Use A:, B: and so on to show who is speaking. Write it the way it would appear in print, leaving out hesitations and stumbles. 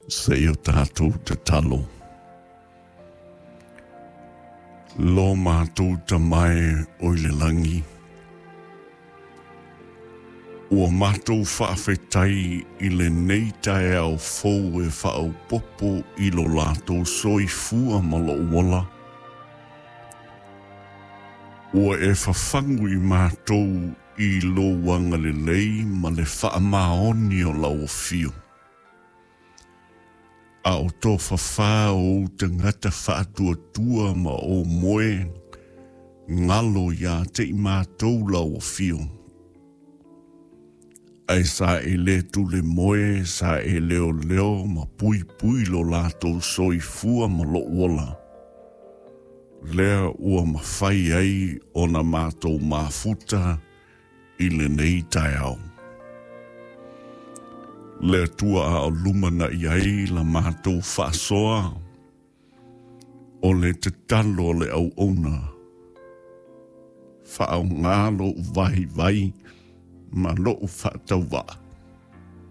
A: Se i o tatou tatalo. Lo matou Tama e o i le lagi, ua matou faafetai i lenei taeao fou e faaopoopo i lo latou soifua ma lou ola. Ua e fafagu i matou i lou agalelei ma le faamaoni o lau afio. A o tofafā o ou tagata faatuatua ma ou moe galo ia te i matou lau afio. Ae sa e le tule moe, sa e leoleo ma puipui lo latou soifua ma lou ola. Lea ua mafai ai ona matou mafuta i lenei taeao. Le Atua a o lumanai ai la matou faasoa, o le tatalo a le auauna, faaaoga lou vaivai ma lou faatauvaa.